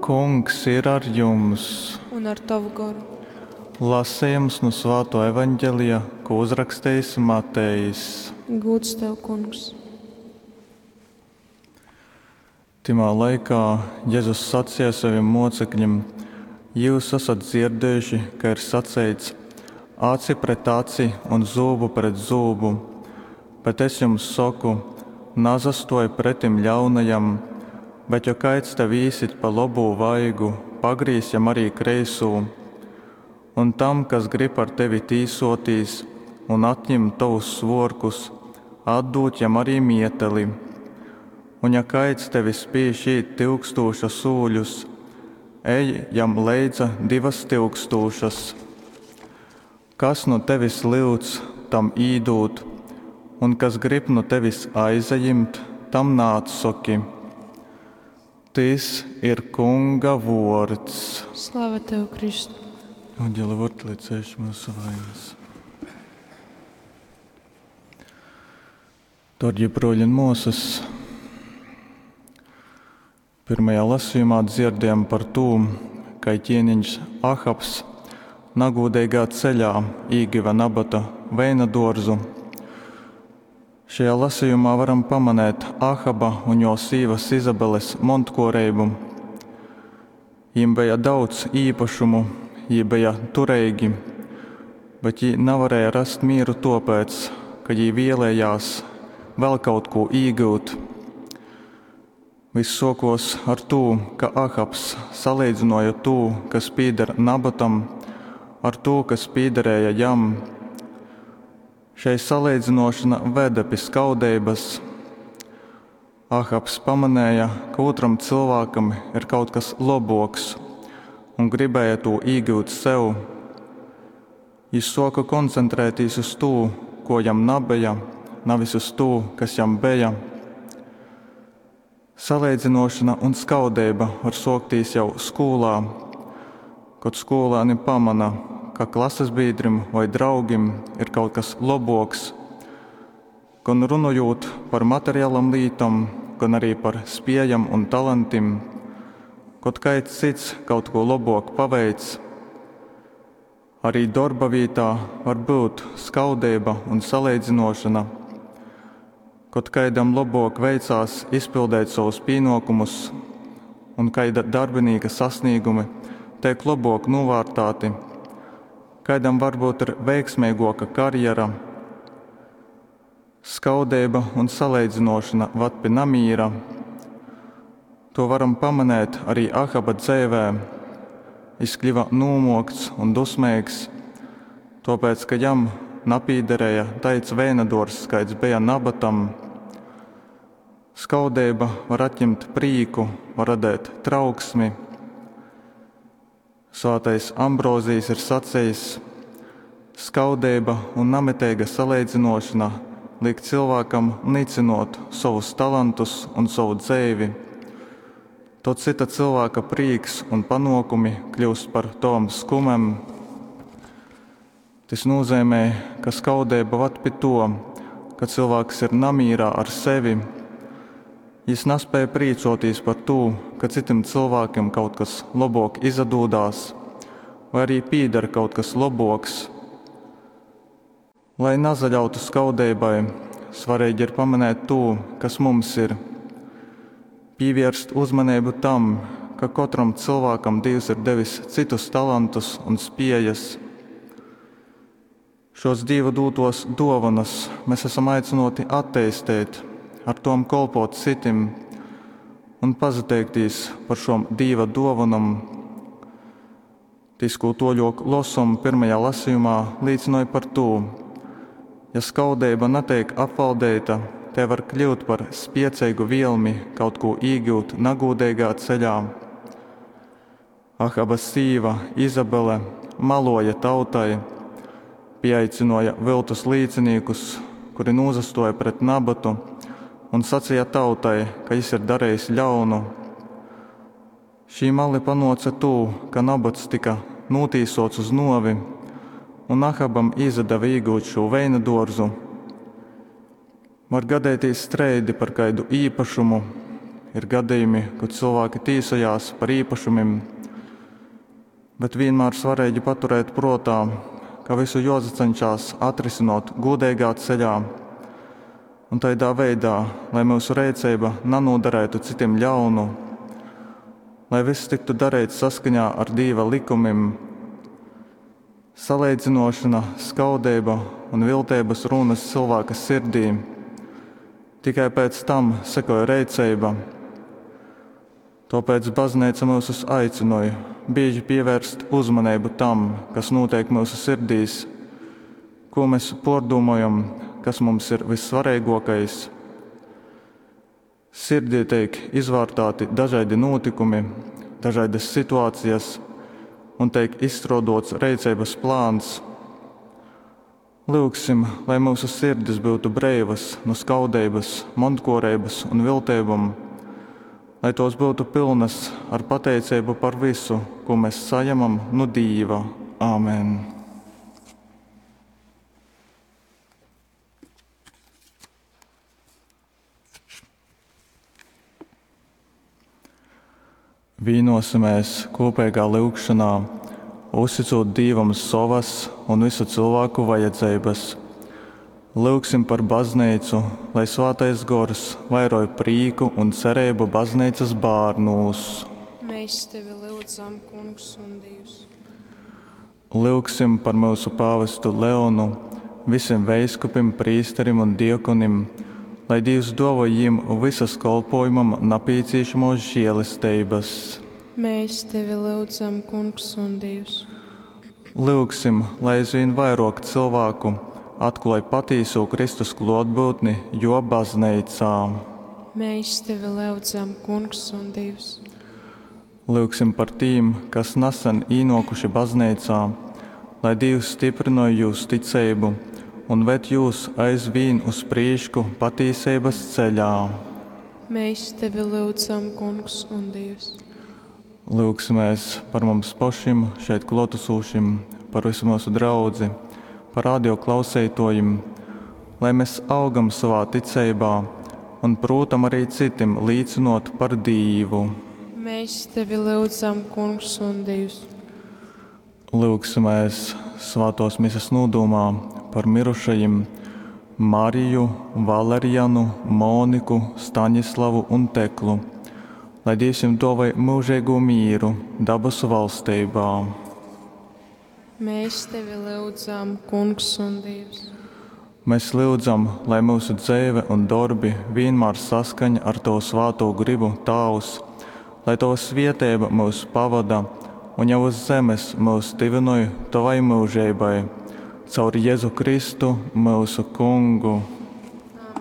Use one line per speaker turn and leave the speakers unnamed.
Kungs ir ar jums!
Un ar tovu goru.
Lasejums nu Svātō Evangelija, kū uzrakstejis Matejs.
Gūds tev, Kungs!
Tymā laikā Jezus saceja sovim mōceklim, Jyus asat dzierdējuši, ka ir saceits, Aci pret aci un zūbu pret zūbu. Bet Es jums soku, Nasastōj pretim ļaunajam, bet, jo kaids tev īsyt pa lobū vaigu, pagrīz jam ari kreisū. Un tam, kas grib ar tevi tīsōtīs un atjimt tovus svōrkus, atdūd jam ari mieteli. Un, ja kaids tevi spīž īt tyukstūša sūļus, ej jam leidza divas tyukstūšas. Kas nu tevis lyudz, tam īdūd, un kas grib nu tevis aizajimt, tam naatsoki. Tys ir Kunga vuords.
Slava tev, Kristu!
Evangelia vārds, lai ceļš mūsu vainas. Darbie broļi un māsas, pirmajā lasījumā dzirdējām par to, ka ķēniņš Ahabs nagūdīgā ceļā īgiva Nabata veina dārzu. Šajā lasījumā varam pamanīt Ahaba un jo sīvas Izabeles montkuorību. Jiem bija daudz īpašumu, jī bija turīgi, bet jī nevarēja rast mieru tāpēc, ka jī vēlējās vēl kaut ko īgūt. Viss sokos ar to, ka Ahabs salīdzināja to, kas pieder Nabatam, ar to, kas piederēja jam. Šei salīdzinošana veda pie skaudības. Ahabs pamanēja, ka otram cilvēkam ir kaut kas laboks un gribēja to īgūt sev. Jis soka koncentrēties uz to, ko jam nabeja, nevis uz to, kas jam bija. Salīdzinošana un skaudība var sākties jau skolā, kad skolēni pamana, ka klases biedrim vai draugim ir kaut kas laboks. Gan runājot par materiālam lītam, gan arī par spējam un talantiem, kad kāds cits kaut ko labāk paveic. Arī darba vietā var būt skaudība un salīdzinošana. Kad kādam labāk veicās izpildīt savus pienākumus un kāda darbinīka sasniegumi tiek labāk novērtēti, kādam varbūt ir veiksmīgāka karjera. Skaudība un salīdzinošana vad pie namīra. To varam pamanīt arī Ahaba dzīvē. Viņš kļuva nūmokts un dusmīgs, tāpēc, ka jam napīderēja taids vēnadors, kāds bija Nabatam. Skaudība var atņemt prīku, var radīt trauksmi. Svētais Ambrozijs ir sacījis: skaudība un namitīga salīdzinošana liek cilvēkam nicinot savus talantus un savu dzīvi. Tad cita cilvēka prīks un panākumi kļūst par tovam skumem. Tas nozīmē, ka skaudība vad pie to, ka cilvēks ir namīrā ar sevi. Jis nespēja prīcoties par to, ka citam cilvēkam kaut kas labāk izdodās, vai arī pīdara kaut kas laboks. Lai nazaļautu skaudībai, svarīgi ir pamanīt to, kas mums ir. Pievērst uzmanību tam, ka katram cilvēkam Dievs ir devis citus talantus un spējas. Šos Dieva dotos dāvanas mēs esam aicināti attīstīt, ar tom kolpot citim un pazateikties par šom Dieva dāvanām. Tis, ko toļok losom pirmajā lasījumā, liecināja par to, ja skaudība netiek apvaldīta, te var kļūt par spiecīgu vielmi kaut ko īgūt nagūdīgā ceļā. Ahaba sīva Izabele maloja tautai, pieaicināja viltus līdzinīkus, kuri nozastoja pret Nabatu un sacīja tautai, ka jis ir darījis ļaunu. Šī mali panoca tū, ka Nabats tika notīsots uz novi, un Ahabam izdeva iegūt šo veina dārzu. Var gadēties streidi par kādu īpašumu, Ir gadījumi, kod cilvēki tīsojās par īpašumim, bet vienmēr svarīgi paturēt protā, ka visu josacenšās atrisinot gūdeigā ceļā un taidā veidā, lai myusu reiceiba nanūdarētu citim ļaunu, lai viss tiktu dareits saskaņā ar Dīva likumim. Saleidzinošana, skaudeiba un vilteibas rūnas cilvēka sirdī. Tikai pēc tam sekoj reiceiba. Tōpēc bazneica myusus aicynoj bīži pievērst uzmaneibu tam, kas nūteik myusu sirdīs, ko mēs pōrdūmojam, kas mums ir vissvareigōkais. Sirdī teik izvārtāti dažaidi nūtykumi, dažaidas situācijas un teik izstrōdots reiceibas plāns. Lyugsim, lai myusu sirdis byutu breivas nu skaudeibas, montkōreibas un vilteibom, lai tōs byutu pylnas ar pateiceibu par visu, ko mēs sajemam nu Dīva. Āmen. Vīnosimies kopīgā lyugšanā, uzticot Dīvam sovas un visu cilvēku vajadzeibas. Lyugsim par baznīcu, lai Svētais Gors vairoj prīku un cerību baznīcas bērnūs.
Mēs tevi lyudzam, Kungs un Dievs.
Lyugsim par mūsu pāvestu Leonu, visiem veiskupim, prīsterim un diekonim, lai Dievs dāvoj jiem visas kolpojumam napīciešamos žēlestības.
Mēs tevi lyudzam, Kungs un Dievs.
Lyugsim, lai aizvien vairāk cilvēku atklāj patīso Kristus klātbūtni jo baznīcā.
Mēs tevi lyudzam, Kungs un Dievs.
Lyugsim par tīm, kas nesen īnokuši baznīcā, lai Dievs stiprinoj jūs ticību un ved jūs aizvien uz prīšku patīsības ceļā.
Mēs tevi lyudzam, Kungs un Dievs.
Lūgsimies par mums pašiem, šeit klātesošiem, par visu mūsu draudzi, par radio klausītājiem, lai mēs augam savā ticībā un, protams, arī citim līdzinot par Dievu.
Mēs tevi lyudzam, Kungs un Dievs.
Lūgsimies svētos misas nodomā par mirušajiem Mariju, Valerianu, Moniku, Staņislavu un Teklu, lai Dievs jums dāvāj mūžīgo mieru dabasu valstībā.
Mēs tevi lyudzam, Kungs un Dievs.
Mēs lūdzam, lai mūsu dzīve un darbi vienmēr saskaņ ar Tavu svēto gribu, Tēvs, lai Tava svietēba mūs pavada un jau uz zemes mūs tivinoj Tavai mūžībai. Caur Jēzu Kristu, mūsu Kungu.